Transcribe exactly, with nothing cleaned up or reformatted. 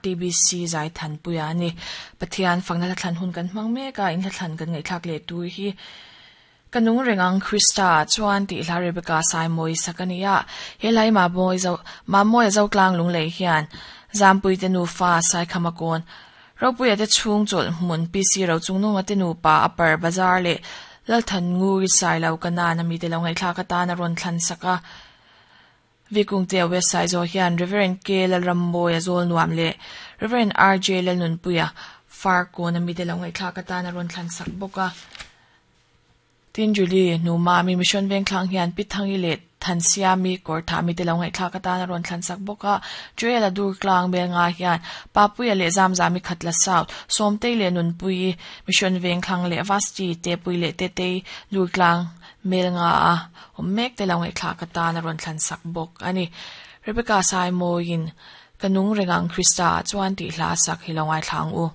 T B C Zaithanpuia a ni. Pathian fakna hla thlan hun kan hmang mek a, in hla thlan kan ngaihthlak leh tur hi Ka nung reng ang Krista ah chuan tih hla Rebecca Saimawi sak a ni a. He hla hi Mamawia zo Mamawia Zotlang Lunglei hian Zampui te nufa Saikhama kawn Ropuia te chhung chawlh hmun P C Rochungnunga te nupa Upper Bazar leh Lalthan Nguri Sailo Kanan a mite lo ngaihthlak atan a rawn thlan sak a. Vikungtea West Saizaw hian Rev. K. Lalrammawia Zawlnuam leh Rev. R J. Lalnunpuia Farkawn a mite lo ngaihthlak atan a rawn thlan sak bawk a. Tin, Julie Hnumami Mission Vengthlang hian Pi Thangi leh Thansiami Kawrthah mite lo ngaihthlak atan a rawn thlan sak bawk a. Joel-a Durtlang Belnga hian Papuia leh Zamzami Khatla South, Sawmtei leh Nunpuii Mission Vengthlang leh Vasti Tepui leh Tetei Durtlang Melnga a awm mek te lo ngaihthlak atan a rawn thlan sak bawk a ni. Rebecca Saimawiin Ka nung reng ang Krista ah chuan tih hla a sak hi lo ngaithla ang u.